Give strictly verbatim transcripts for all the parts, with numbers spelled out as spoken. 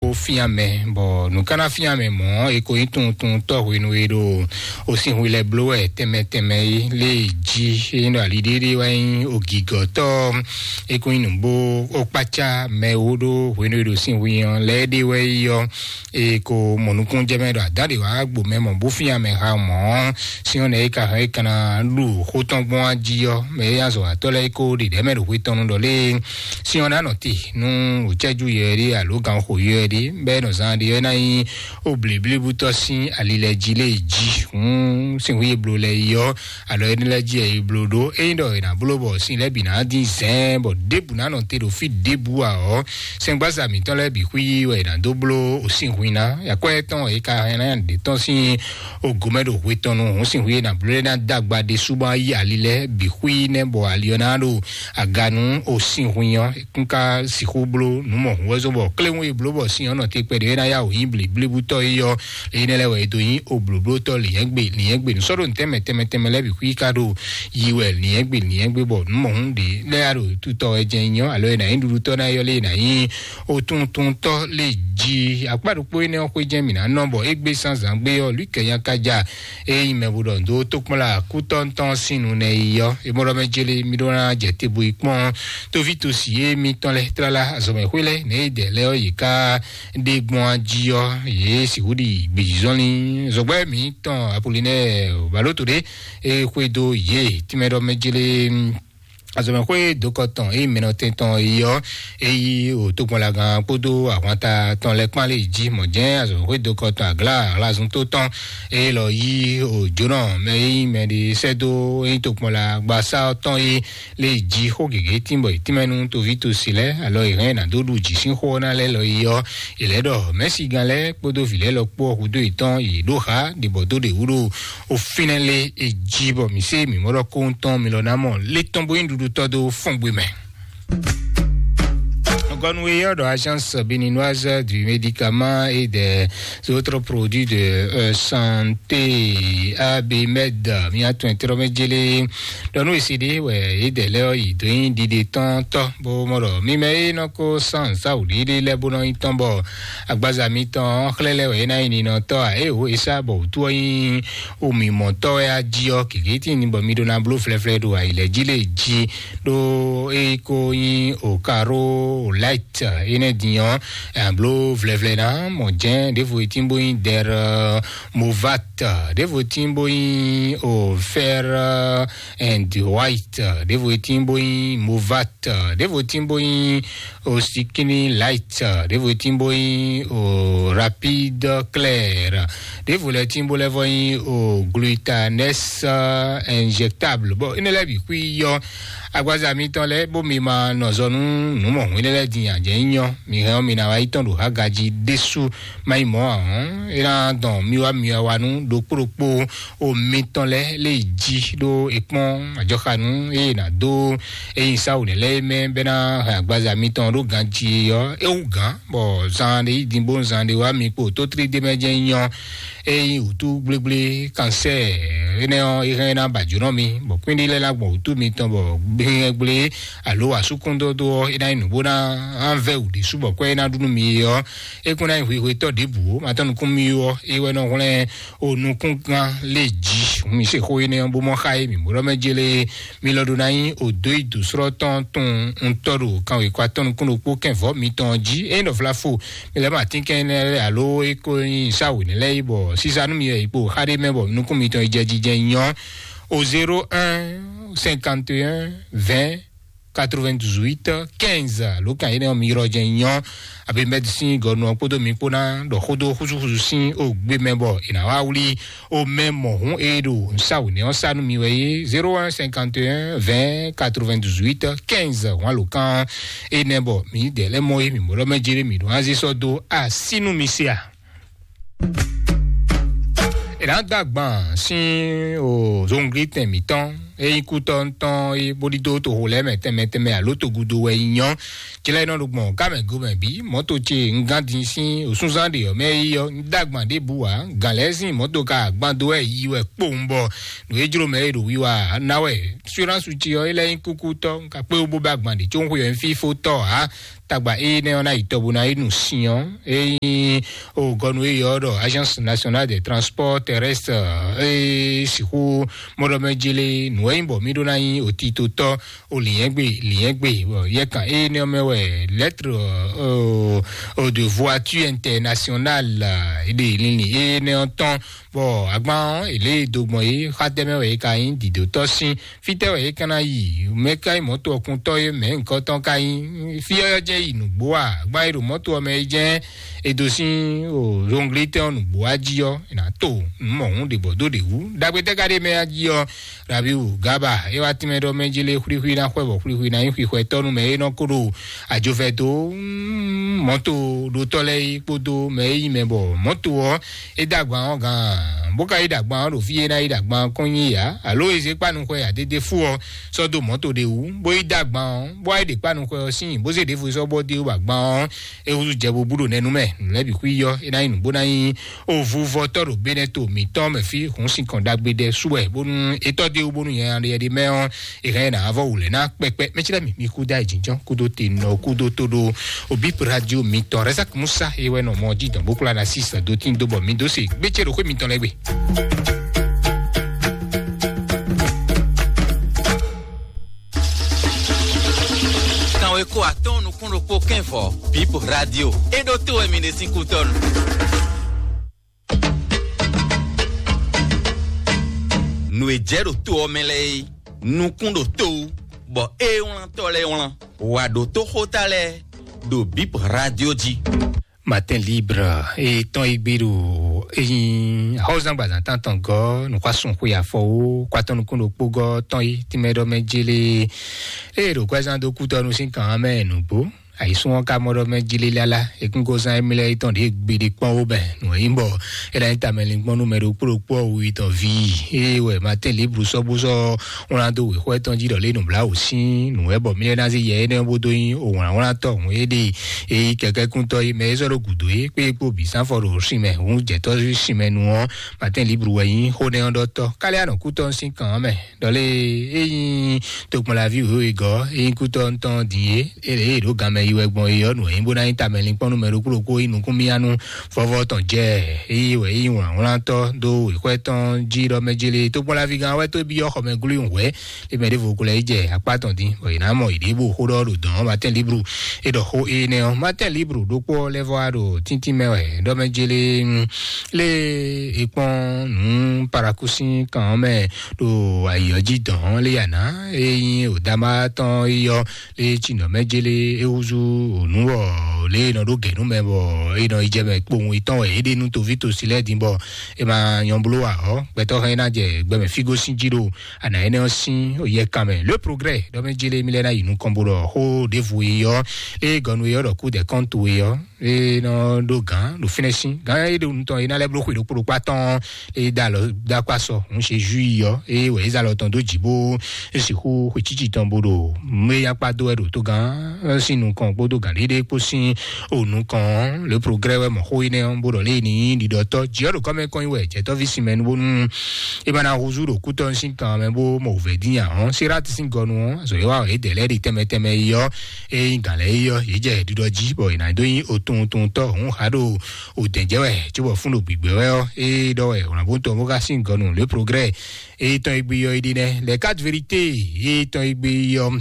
Ó fín amɛ, bɔ nǔ ka ná fín amɛ mɔ̌, è ko nyí tunwun tɔ́ hwenu e ɖo osinhwi lɛ́ɛ bló wɛ tɛnmɛ tɛnmɛ é lé jí. É nyí ɖɔ ali ɖéɖé wɛ nyí ogǐgɔ̌tɔ́, é ko nyí nǔgbó ó kpácá mɛ wó ɖó hwenu e ɖo sinhwi ɔ́ lɛ́ɛ ɖé wɛ yí ɔ́, è ko mɔ nukúnnú jɛ mɛ ɖɔ adǎ ɖě wá gbo mɛ mɔ bó fín amɛ ha mɔ̌. Sín ɔ́ nɛ́ é ka hɛn é ka ná ɖu xó tɔn gbɔn á jí ɔ́, mɛ e azɔ̌watɔ́ lɛ́ɛ é ko ɖe ɖɛ̌ mɛ ɖo xwé tɔn nu ɖɔ lé sín ɔ́ ná nɔ te nú wǒcɛ́jú yɛ ɖé alo ganxo yɛ ɖé, bɛ́ nɔ zán ɖé ɔ́ ná nyí ó blǐblíbútɔ́ sín ali lɛ́ɛ jí lé jí. Hǔn sín hú e bló lɛ́ɛ yi ɔ́, alɔ énɛ́ lɛ́ɛ jí wɛ yi bló ɖó. Ényí ɖɔ è nǎ bló bɔ sin lɛ́ɛ bǐ ná dín zɛ̌ɛn bɔ ɖěbǔ ná nɔ te ɖo fí ɖěbǔ ǎ ɔ́, sɛngbáza mǐtɔn lɛ́ɛ bǐ xwí wɛ è nǎ dó bló osínhwin ná. Akwɛ́ tɔn e ka hɛn ná ɖě tɔn sín ogomɛ ɖo hwe tɔn nu hǔn sínhwin e nǎ bló lɛ́ɛ ná dó agba ɖésú bɔ ná yi ali lɛ́ɛ bǐ xwí nɛ́ bɔ ali ɔ́ ná ɖo aga nú osínhwin ɔ́. Kún ka sixú bló nǔ mɔ̌hun wɛ zɔ́n bɔ kléwún e bló bɔ sin ɔ́ nɔ te kpɛɖé é ná yá wǒ nyí blǐblíbútɔ́ é ɔ́, énɛ́ lɛ́ɛ wɛ è dó nyí oblǒblótɔ́ lǐnyɛ́gbe lǐnyɛ́gbe. Nǔ sɔ́ ɖo nǔtɛ́ mɛ tɛnmɛ tɛnmɛ lɛ́ɛ bǐ xwí ka ɖo yi wɛ lǐnyɛ́gbe lǐnyɛ́gbe, bɔ nǔ mɔ̌hun ɖě lɛ́ɛ ɖo tutɔ wɛ jɛ́n nyí ɔ́, alo è nǎ nyí ɖuɖutɔ́ ná yɔ́ lé è nǎ nyí otuntuntɔ́ lé jí. Akpá ɖokpó énɛ́ ɔ́ xwé jɛ́n mǐ ná nɔ, bɔ égbé zán zǎngbé ɔ́, lǔkɛ́nya ka ja é nyí mɛ bo ɖɔ dó tókpɔ́nla kútɔ́ntɔn sín nu nɛ yi ɔ́, é mɔ ɖɔ mɛ jélé mí ɖó ná jɛ te bo yi kpɔ́n tóví tosi é mítɔn lɛ́ɛ tlala azɔ̌mɛxwé lɛ́ɛ nɛ̌ é dɛ lɛ́ɛ ɔ́, yě ká ɖe gbɔn jí ɔ́, yě sixú ɖi gbězɔnlin zɔgbɛ́ mǐtɔn Apolinɛ́ɛ Baloto ɖé é xwedó yě tínmɛ ɖɔ mɛ jélé azɔ̌mɛxwé dokɔ tɔn é mɛnɔ tɛntɔn yi ɔ́, é yí o tokpɔnlagán kpódó ahwanta tɔn lɛ́ kpán lé jí mɔ̌ jɛ́n azɔ̌mɛxwé dokɔ tɔn aglá alazun tó tɔn é lɔ yí o jónɔ mɛ é nyí mɛ ɖé sɛ́ dó é nyí tokpɔnla gbasá ɔ́ tɔn é lé jí xó gěgé tínbɔ è tínmɛ nú toví tosi lɛ́ɛ alɔ è hɛn ná dó ɖu jǐ sín xó ɔ́ ná lɛ́ lɔ yi ɔ́, è lɛ̌ ɖɔ mɛ̌sigán lɛ́ɛ kpódó vǐ lɛ́ɛ lɔ kpó ɔ́ hudó yětɔn yě ɖó xá ɖibɔ dó ɖě wú ɖo ó fínɛ́ lé è jí bɔ mǐ sé mǐ mɔ ɖɔ kóhun tɔn mi lɔ ná mɔ lé tɔn bó nyí ɖuɖutɔ́ dó fɔ́ngbé mɛ. Gɔnu e yɔ ɖɔ Agence Béninoise du Médicament et des autres produits de euh, santé, ABMED, mía tɔn tɔrɔ mɛ jélé ɖɔ nú esi ɖé wɛ yě dɛ lɛ ɔ́ yi dó nyí ɖiɖe tɔn tɔ bó mɔ ɖɔ mi mɛ e nɔ ko san sawu ɖiɖe lɛ bó nɔ nyi tɔn bɔ agbaza mitɔn xlɛ́ lɛ wɛ é ná nyi ninɔtɔ́ ǎ. Ée wǒ e sá bɔ wǔtu ɔ́ nyí omimɔtɔ́ wɛ á jí ɔ́, kěkě tíin bɔ mi ɖó ná bló flɛ́flɛ́ ɖo ayǐ lɛ́ɛ jí lě jí ɖó é ko nyí o karo o light énɛ́ din ɔ́, ɛ bló vlɛvlɛ ná mɔ jɛ́n ɖěvo e tín bó nyí dɛr movat, ɖěvo tín bó nyí o fɛr and white, ɖěvo e tín bó nyí movat, ɖěvo tín bó nyí o sikini light, ɖěvo e tín bó nyí o rapide clair, ɖěvo lɛ tín bó lɛ vɔ nyí o glutanes injectable. Bon, énɛ́ lɛ́ɛ bǐ xwí yɔ agbaza mitɔn lɛ́ɛ bó mi ma nɔ zɔ nú nǔ mɔ̌hun énɛ́ lɛ́ɛ din ǎ. Jɛ nyí nyɔ́ mi hɛn ɔ́ mi ná wá yi tɔn ɖo hágají ɖésú má yi mɔ̌ ǎ hɔn, é ná dɔn mi wá mi wá wá nú ɖokpó ɖokpó o mitɔn lɛ́ɛ lé yi jí ɖó è kpɔ́n ajɔxanú eye è nǎ dó eyin sáwǔ nɛ́ lɛ́ɛ mɛ bɛ́ ná hɛn agbaza mitɔn ɖó ganjí ɔ́ é wú gǎn, bɔ zan ɖé yi din bó zan ɖé wá mi kpo tótlí ɖé mɛ jɛ́n nyɔ́. Ényí wǔtú gblégblé kansɛ́ɛ énɛ́ ɔ́, é hɛn ná ba jǒnɔ mi, bɔ kwín ɖé lɛ́ɛ ná gbɔn wǔtú mitɔn, bɔ gbɛ́ngbɛ́ alo asúkúndódó ɔ́, é ná nyí nǔgbó ná vɛ́ wǔ ɖésú bɔ kwɛ́ é ná ɖu nú mi é ɔ́, é kún ná nyí hwehwetɔ́ ɖěbǔ ó. Ma tɔ́ nukún mì ó, é wɛ nɔ hwlɛ́n o nukúngán lé jí. Hǔn mi se xó énɛ́ ɔ́ bó mɔ xá é, mǐ mǒɖɔ́ mɛ jélé mi lɔ ɖó ná nyí odǒ yi dǒsrɔ́ tɔn tun ŋutɔ́ ɖo kanwekwa tɔn nukún ɖokpó kɛnvɔ́ mitɔn jí. Ényí ɖɔ vlafo mi lɛ́ mɔ atínkɛn énɛ́ lɛ́ɛ alo é ko nyí sáwǔ nɛ́ lɛ́ɛ yi bɔ sísá nú mi wɛ yi kpo xá ɖé mɛ bɔ nukún mitɔn yi jɛ jijɛ nyɔ́. O zéro un cinquante et un vingt quatre-vingt-dix-huit quinze ló kan énɛ́ ɔ́ mi yrɔ jɛ nyɔ́. Abe mɛdi sín gɔnu ɔ́ kpódó mi kpó ná ɖɔ xódó xúsúxúsú sín o gbé mɛ bɔ è nǎ wá wlí o mɛ mɔ̌hun e ɖo nǔsáwǔnɛ ɔ́ sá nú mi wɛ é zéro un cinquante et un vingt quatre-vingt-dix-huit quinze hɔn alǒkan énɛ́ bɔ mǐ dɛ lɛ́ mɔ é mǐ mɔ ɖɔ mɛ jéré mǐ ɖo anzí sɔ́ dó así nú mi se a? È nǎ dó agban sín o zongli tɛn mǐtɔn é nyí kútɔ́ tɔn é bó ɖídó toxo lɛ́ɛ mɛ tɛnmɛ tɛnmɛ alo togudo wɛ nyí nyɔ́. Cɛlɛ nɔ ɖo gbɔn ká mɛ go mɛ bǐ mɔ̌to ce un gán din sín òsúnzán ɖe ɔ́ mɛ é yi ɔ́, un dó agban ɖěbǔ ǎ. Gǎn lɛ́ɛ sín mɔ̌to ka agban dó wɛ yi wɛ kpowun bɔ nǔ e jló mɛ é ɖo wiwa ná wɛ. Assurance ce ɔ́, é lɛ́ nyí kúkútɔ́, un ka kpé wú bó bɛ́ agban ɖě có un xwe ɔ́ nyí fífótɔ́ ǎ. tagba énɛ́ ɔ́ ná yi tɔ bó ná yi nu sin ɔ́, é nyí o gɔnu e yɔ ɖɔ Agence Nationale des Transports Terrestres, é sixú mɔɖɔmɛ jele nǔ e nyí bɔ mí ɖó ná nyí otitotɔ́ o lǐnyɛ́gbe lǐnyɛ́gbe, bɔ yɛkan énɛ́ ɔ́ mɛ wɛ lettre, euh, euh, de voiture internationale, euh, ɖe linlin énɛ́ ɔ́ tɔn, bɔ agban ɔ́, è lě e do gbɔn é, xá tɛ́ mɛ wɛ é ka nyí, dǐdótɔ́ sín, fítɛ́ wɛ é ka ná yi, mɛ ka nyí mɔ̌to ɔkuntɔ́ é, mɛ nǔkɔntɔn ka nyí, fí ɔ́ jɛ́n yi nǔgbó a? Agban e ɖo mɔ̌to ɔ́ mɛ é jɛ́n è dó sín o zɔnglitɛ́ ɔ́ nǔgbó wá jí ɔ́, è nǎ to nǔ mɔ̌hun ɖě bɔ dó ɖě wú. Ɖagbe tɛ́ ka ɖe mɛ jí ɔ́, Rabiu Gaba é wá tínmɛ ɖɔ mɛ jí lé xwlíxwlí ná xwɛ bɔ xwlíxwlí ná nyí xwixwɛ tɔ́ nú mɛ e nɔ kó ɖo àjovɛ dó, mm, mɔ̌to ɖótɔ́ lɛ́ɛ é kpódó mɛ e nyí mɛ bɔ mɔ̌to ɔ́ é dó agban ɔ́ gǎn, bó ka yi ɖo agban ɔ́ ɖo fí e ná yi ɖo agban ɔ́ kɔn nyi yǎ, alo e zé kpánu xwɛ adédé fú ɔ́ sɔ́ dó mɔ̌to ɖé wú, bó yi dó agban ɔ́, bó wá yi ɖe kpánu xwɛ ɔ́ sín, bó zé ɖěvo sɔ́ bɔ dé wú agban ɔ́, é húzú jɛ bo bú ɖo nɛnú mɛ, nǔ lɛ́ɛ bǐ xwí yɔ, é ná nyí nǔ bó ná nyí ovuvɔtɔ́ ɖo Benɛto mǐtɔn mɛ fí, hǔn sin kɔn ɖagbe ɖɛ sú wɛ, bónú é tɔ́ dé wú bónú nyɛ ɖe mɛ ɔ́, é hɛn ná vɔ wǔ lɛ́ ná kpɛkpɛ. Mɛ cí lɛ́ mi, mi kú dá ìjínjɔ́n, kúdó te nɔ, kúdó tó ɖó òbí radio mitɔn Razak Musa é wɛ nɔ mɔ jí dɔn bó kplá ná sí sɛdó tín dó bɔ mi dó se gbétsé ɖo xwé mitɔn lɛ́ɛ gbe. Kanwe ko atɔn nukún ɖokpó kɛnvɔ, Bip Radio. É ɖó tó wɛ mi ɖe sín kútɔ́nu. Nǔ e jɛ ɖo to ɔ́ mɛ lɛ́ɛ é, nukún ɖo to wú, bɔ é wlántɔ́ lɛ́ɛ wlán. Wǎ ɖó tó xóta lɛ́ɛ ɖo Bip Radio jí. Matin Libre e tɔn e gbe ɖo eyin ahɔzan gbazan tantɔn gɔ nukwasun xwe afɔwo kwatɔn nukun ɖokpo gɔ tɔn yi tìmɛ ɖɔ mɛ jele e ɖo kwɛzan dó kútɔnu sín kan mɛ nugbo ayisun ɔ́ ka mɔ ɖɔ mɛ jele lala ekúngozan emilɛ etɔn ɖe gbeɖe kpɔn wo bɛ nù eyin bɔ e ɖo anyi tamɛ linkpɔn nú mɛ ɖokpó ɖokpó ɔ́ wu yi tɔn vi. Eye wɛ Matin Libre sɔ́ bó sɔ́ wlán dó wěxɔ etɔn jí ɖɔ lé nǔbláwǔ sín nǔ wɛ bɔ mílíɔ́ ná zé yɛ énɛ́ bó dó nyí òwlǎnwlántɔ́ hǔn é ɖe e yí kɛkɛ́kúntɔ́ é mɛ é zɔ́ ɖo gǔdo é kpé é kpó bǐ sán fɔ ɖo sin mɛ hǔn jɛ̌tɔ́ sin mɛ nu ɔ́. Matin Libre wɛ nyí xó nɛ́ ɔ́ ɖɔtɔ́ káliá nɔ kútɔ́ sín kan ɔ́ mɛ ɖɔ lé é nyí tokpɔnlaví wěwe gɔ́ é nyí kútɔ́ ntɔn din é é lě e ɖǒ ganmɛ yi wɛ gbɔn é ɔ́ nǔ e nyí bó ná nyí tamɛ linkpɔ́n nú mɛ ɖokpó ɖokpó é nyí nukúnmíyá nú vɔ́vɔ́ tɔn jɛ é yí wɛ é nyí wlǎnwlántɔ́ dó wěxwɛ́ tɔn jí ɖɔ mɛ jélé tokpɔnlaví gán wɛ tó byɔ́ xɔmɛglú wɛ̌. Eme ɖěvo ko lɛ́ yi jɛ akpá tɔn dín, bɔ yě ná mɔ yě ɖěbǔ xó ɖɔ ɖo dɔ̌n Matin Libre. É ɖɔ xó énɛ́ ɔ́, Matin Libre ɖokpó ɔ́ lɛ́ vɔ wá ɖo tíntín mɛ wɛ ɖɔ mɛ jélé lé e kpɔ́n nǔ parakúsín kan ɔ́ mɛ ɖo ayǐ ɔ́ jí dɔ̌n lé yǎ ná. É nyí òdámá tɔn yi ɔ́ lé tsinɔ mɛ jélé é húzú ònú wɔ lé e nɔ ɖó gɛ̌ nú mɛ bɔ é nɔ yi jɛ mɛ kpowun yětɔn wɛ é ɖe nú toví tosi lɛ́ɛ din bɔ è ma nyɔ bló ǎ ɔ́, gbɛtɔ́ hɛn é ná jɛ gbɛmɛ fígó sín jí ɖo ana énɛ́ ɔ́ sín yɛkan mɛ. Le Progrès ɖɔ mɛ jélé mí lɛ́ ná yi nukɔn bó ɖɔ xó ɖěvo e ɔ́, ée gɔnu e ɔ́ ɖɔ kú dɛ kɔ́ntu e ɔ́, é nɔ ɖó gǎn ɖo fínɛ́ sín. Gǎn e ɖo nutɔn e ná lɛ́ bló xwe ɖokpó ɖokpá tɔn, é dó alɔ dó akpá sɔ, hǔn ṣe ju yi ɔ́, é wɛ é zé alɔ tɔn dó jǐ bó é sixú xwe cíci tɔn bó ɖo mé yakpá dó wɛ ɖo togán sín nukɔn kpódó gǎn ɖéɖé kpó sín o nukɔn. Le Progrès wɛ mɔ xó énɛ́ ɔ́ bó ɖɔ lé ní ɖiɖɔtɔ́ jǐ ɔ́ ɖo kɔ́mɛ kɔn nyi wɛ jɛtɔ́ví sin mɛ nu bónú é ma ná húzú ɖo kútɔ́ sín kan mɛ bó mɔ wǔvɛ́ dín nya ɔ́. Sirati sín gɔnu ɔ́, azɔ̌ e wa wɛ é dɛ lɛ́ɛ ɖi tɛnmɛ tɛnmɛ yi ɔ́, é nyí gǎn lɛ́ɛ yi ɔ́, yě jɛ ɖiɖɔ jí bɔ è nǎ dó nyí otuntɔntɔ́ hǔn há ɖo òdɛ̌jɛ́ wɛ cóbɔ fún ɖo gbǐgbɛ́ wɛ ɔ́, é ɖɔ wɛ wlǎnbótɔn bó ka sín gɔnu Le Progrès. Éyítɔn e gbe yɔ é ɖi nɛ́, Les Quatre Vérités, éyítɔn e gbe yɔ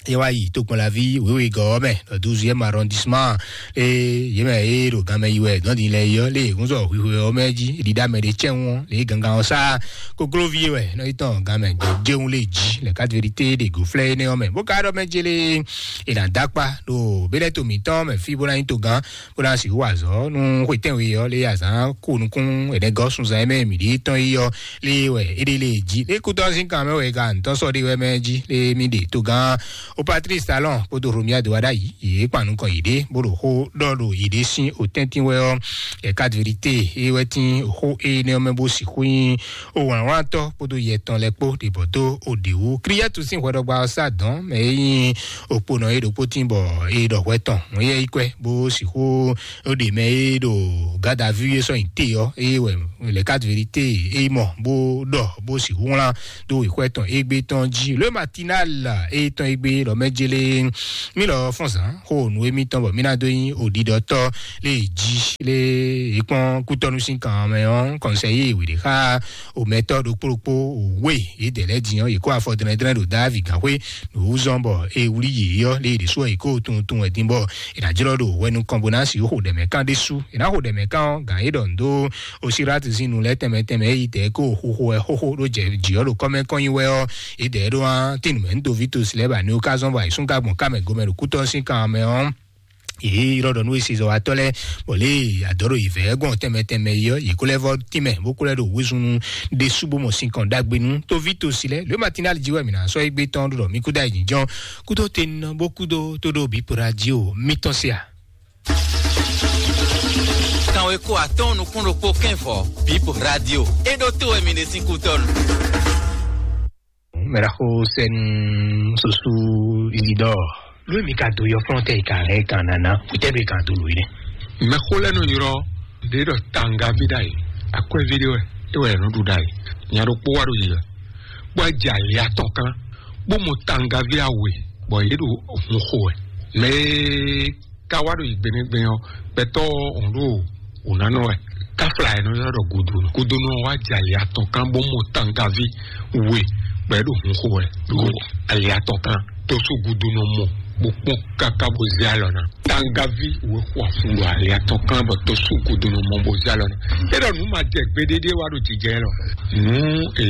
é wá yi tokpɔnlaví wěwegɔ́ ɔ́ mɛ, le douzième arrondissement. Eye yě mɛ e ɖo ganmɛ yi wɛ dɔn din lɛ yi ɔ́, lé hun sɔ hwihwe ɔ́ mɛ jí ɖiɖa mɛ ɖé cɛ́n ɔ́, lé gangan ɔ́ sá kokloví wɛ nɔ yi tɔn ganmɛ jɛun lé jí. Les Quatre Vérités ɖe go flɛ́ énɛ́ ɔ́ mɛ bó ka ɖɔ mɛ jélé è nǎ dó akpá ɖo bélɛ́ to mǐtɔn mɛ fí bó ná nyí togán bó ná sixú wa azɔ̌ nú xwetɛ́nwe ɔ́ lé azǎn ko nukún ɛnɛgɔ́ sunzan e mɛ mǐ ɖi tɔn yi ɔ́ lé wɛ é ɖe lé jí. Lé kútɔ́ sín kan mɛ wɛ ka ntɔ́ sɔ́ ɖé wɛ mɛ jí lé mí ɖe togán o Patrice Talon kpódó Romuald Wadagni yě kpan nukɔn yěɖée bó ɖo xó ɖɔ ɖo yěɖée sín o tɛ́ntin wɛ ɔ́. Les Quatre Vérités é wɛ tín xó énɛ́ ɔ́ mɛ bó sixú nyí o wlǎnwlántɔ́ kpódó yɛ tɔn lɛ́ɛ kpó ɖě bɔ dó o ɖě wú. Kliyɛ́tu sín hwɛɖɔgba ɔ́ sá dɔ̌n mɛ e nyí okponɔ é ɖokpó tín bɔ é ɖɔ hwɛ tɔn. Mɔ̌ yɛ yi kwɛ bó sixú ó ɖe mɛ e ɖo garde à vue é sɔ́ nyi te ɔ́, eye wɛ Les Quatre Vérités é mɔ bó ɖɔ bó sixú wlán dó wěxwɛ́ tɔn égbé tɔn jí. Le Matinal é tɔn égbé ɖɔ mɛ jélé. Mí lɔ fɔ́n zǎn xó nǔ émítɔn bɔ mí ná dó nyí òɖiɖɔtɔ́ lé jí lé é kpɔ́n kútɔ́nú sín kan mɛ ɔ́, kɔnsɛyí wěɖé xá omɛtɔ́ ɖokpó ɖokpó òwe yědɛɛ lɛ́ɛ din ɔ́, yě kó afɔ dlɛ́ndlɛ́n ɖo Davi gǎnxwé ɖo wú zɔ́n bɔ é wlí yě ɔ́, lé yě ɖésú ɔ́, yě kó tunwun tunwun wɛ din bɔ è nǎ jlɔ́ ɖo hwɛnukɔn bó ná sixú xo ɖɛ̌mɛ kán ɖésú. È nǎ xo ɖɛ̌mɛ kán ɔ́, gǎn é ɖɔ nǔ dó Osirati sín nu lɛ́ɛ tɛnmɛ tɛnmɛ é yi dɛ̌ kó xóxó wɛ xóxó ɖó jɛ jǐ ɔ́ ɖo kɔ́mɛ kɔn nyi wɛ ɔ́, é dɛ̌ ɖó ɔ́, tín nǔmɛ nú Dovito si lɛ́ɛ ba ní ó ká zɔ́n bɔ ayǐsúngán gbɔn ká mɛ gomɛ ɖo kútɔ́ sín kan mɛ ɔ́. Yě ylɔ́ ɖɔ nú esizɔwatɔ́ lɛ́ɛ bɔ lě adɔ̌ ɖo yǐvɛ́ gɔn tɛnmɛ tɛnmɛ é ɔ́, yě kó lɛ́ vɔ́ tínmɛ bó kó lɛ́ ɖo wezun ɖésú bó mɔ sinkɔn ɖagbe nú tóví tosi lɛ́ɛ. Lě Matinali jí wɛ mǐ ná sɔ́ égbé tɔn ɖo ɖɔ mí kúdó ayǐjínjɔ́n kúdó tenɔ bó kúdó tó ɖo bǐ poɖa jí o mítɔn se a. Kanweko atɔ́ɔ́n nukún ɖokpó kɛ́nvɔ Bíbo Radio. É ɖó tó wɛ mi ɖe sín kútɔ́nu. Mɛɖaxó sɛnu soso Isidore. Lóyè mi ka do yɔ fɔlɔntɛ yi ka hɛn kan nana witɛ do yi kan do lóyè nɛ. Mɛxó lɛ́ɛ nɔ ylɔ́ ɖě ɖɔ tangavi ɖ'ayǐ, akwɛ́ví ɖé wɛ é wɛ nɔ ɖu ɖ'ayǐ. Nya ɖokpó wá ɖo yi wɛ, bó wá jɛ ali atɔn kan, bó mɔ tangavi awe, bɔ yě ɖo hun xo wɛ. Mɛ e ka wá ɖo yi gbeɖégbé ɔ́, gbɛtɔ́ ɔ́ ɖo wǔnánɔ wɛ. Káfla ɛ nɔ ylɔ́ ɖɔ gudonu. Gudonu ɔ́ wá jɛ ali atɔn kan bó mɔ tangavi we, bɔ é ɖo hun xo wɛ ɖo ali atɔn kan. Tó sú gudonu ɔ́ mɔ bó kpɔ́n káká bó zé alɔ ná. Tangavi we xo afun ɖo ali atɔn kan bɔ tó sú gudonu ɔ́ mɔ bó zé alɔ ná. É ɖɔ nǔ ma jɛ gbeɖéɖé wá ɖo jijɛ lɔ. Nǔ e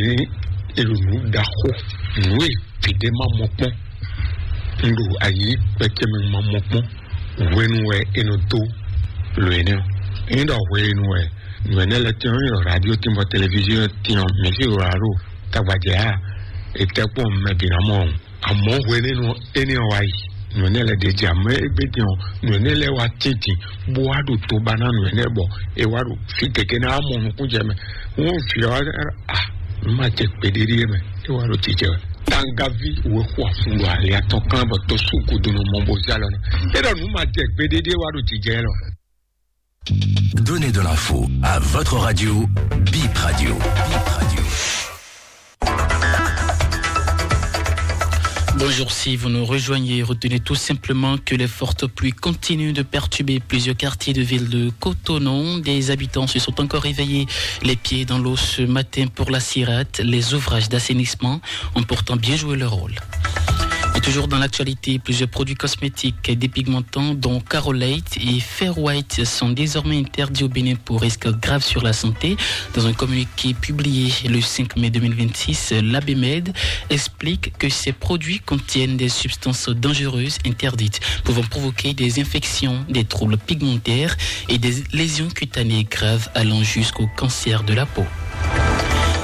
è ɖo nǔ ɖaxó, nǔ e gěɖé ma mɔ kpɔ́n. Un ɖo ayǐ kpɛtɛ́ mɛ ma mɔ kpɔ́n. Hwenu wɛ è nɔ dó lǒ énɛ́ ɔ́. Ényí ɖɔ hwenu wɛ nǔ énɛ́ lɛ́ɛ tɛ́n ɔ́, ényí ɖɔ radio tɛ́n bɔ televiziɔn tɛ́n ɔ́, mɛ sí ɖo alo tagbajɛ a, è tɛ́ kpɔ́n mɛ bǐ ná mɔ ɔ́. Àmọ́ hwenu énɛ́ ɔ́ wá yi, nǔ énɛ́ lɛ́ɛ ɖě jɛ, àmọ́ égbé din ɔ́, nǔ énɛ́ lɛ́ɛ wá tíntin bó wá ɖo tó ba ná nǔ énɛ́ bɔ é wá ɖo fí gěgé ná mɔ nukún jɛ mɛ. Wọ́n fi ọ́ a, nǔ ma jɛ gbeɖéɖé mɛ, é wá ɖo jijɛ wɛ. Tangavi wɛ xo afun ɖo ali atɔn kan bɔ tó sú gudunu mɔ bó zé alɔ ná. É ɖɔ nǔ ma jɛ gbeɖéɖé wá ɖo jijɛ lɔ. Donnez de l'info à votre radio, Bip Radio. Bip Radio. Bonjour, si vous nous rejoignez, retenez tout simplement que les fortes pluies continuent de perturber plusieurs quartiers de ville de Cotonou. Des habitants se sont encore réveillés les pieds dans l'eau ce matin pour la cirette. Les ouvrages d'assainissement ont pourtant bien joué leur rôle. Et toujours dans l'actualité, plusieurs produits cosmétiques dépigmentants, dont Carolate et Fair White, sont désormais interdits au Bénin pour risque grave sur la santé. Dans un communiqué publié le cinq mai deux mille vingt-six, l'A B M E D explique que ces produits contiennent des substances dangereuses interdites, pouvant provoquer des infections, des troubles pigmentaires et des lésions cutanées graves allant jusqu'au cancer de la peau.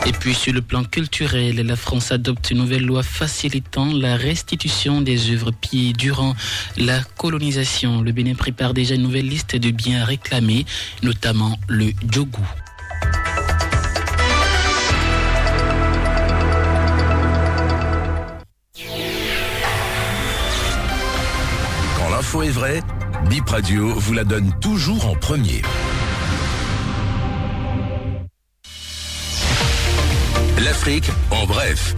Et puis, sur le plan culturel, la France adopte une nouvelle loi facilitant la restitution des œuvres pillées durant la colonisation. Le Bénin prépare déjà une nouvelle liste de biens à réclamer, notamment le djougou. Quand l'info est vraie, Bip Radio vous la donne toujours en premier. L'Afrique en bref.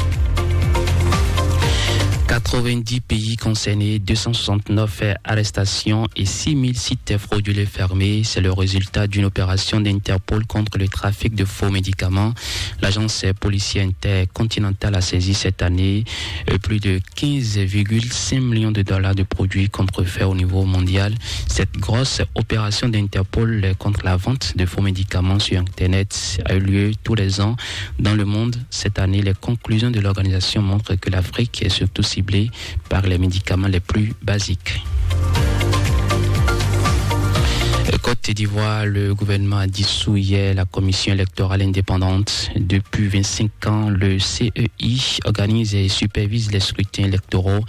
Quatre-vingt-dix pays concernés, deux cent soixante-neuf arrestations et six mille sites frauduleux fermés. C'est le résultat d'une opération d'Interpol contre le trafic de faux médicaments. L'agence policière intercontinentale a saisi cette année, euh, plus de quinze virgule cinq millions de dollars de produits contrefaits au niveau mondial. Cette grosse opération d'Interpol contre la vente de faux médicaments sur Internet a eu lieu tous les ans dans le monde. Cette année, les conclusions de l'organisation montrent que l'Afrique est surtout ciblée par les médicaments les plus basiques. Côte d'Ivoire, le gouvernement a dissous hier la commission électorale indépendante. Depuis vingt-cinq ans, le C E I organise et supervise les scrutins électoraux.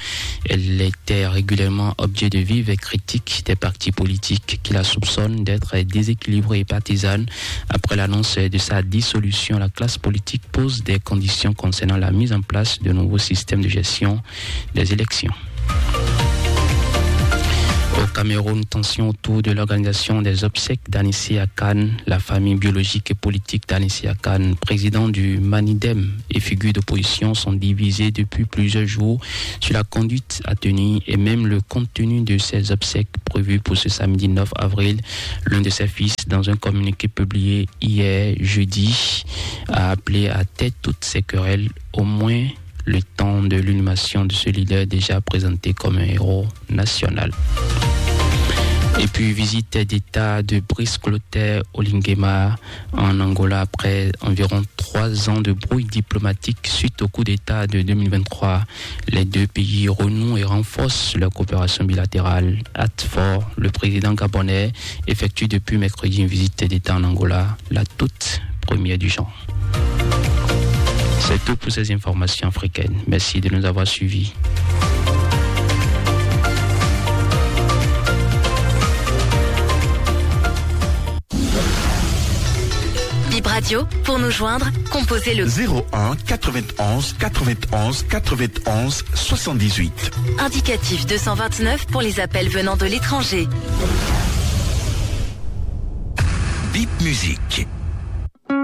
Elle était régulièrement objet de vives critiques des partis politiques qui la soupçonnent d'être déséquilibrée et partisane. Après l'annonce de sa dissolution, la classe politique pose des conditions concernant la mise en place de nouveaux systèmes de gestion des élections. Au Cameroun, tension autour de l'organisation des obsèques d'Anissé Akane. La famille biologique et politique d'Anissé Akane, président du Manidem et figure d'opposition, sont divisés depuis plusieurs jours sur la conduite à tenir et même le contenu de ces obsèques prévues pour ce samedi neuf avril. L'un de ses fils, dans un communiqué publié hier jeudi, a appelé à taire toutes ces querelles, au moins le temps de l'inhumation de ce leader déjà présenté comme un héros national. Et puis, visite d'État de Brice Clotaire Oligema en Angola après environ trois ans de brouille diplomatique suite au coup d'État de deux mille vingt-trois. Les deux pays renouent et renforcent leur coopération bilatérale. Hâte fort, le président gabonais effectue depuis mercredi une visite d'État en Angola, la toute première du genre. C'est tout pour ces informations africaines. Merci de nous avoir suivis. Bip Radio, pour nous joindre, composez le zéro un quatre-vingt-onze quatre-vingt-onze quatre-vingt-onze soixante-dix-huit. Indicatif deux cent vingt-neuf pour les appels venant de l'étranger. Bip Musique.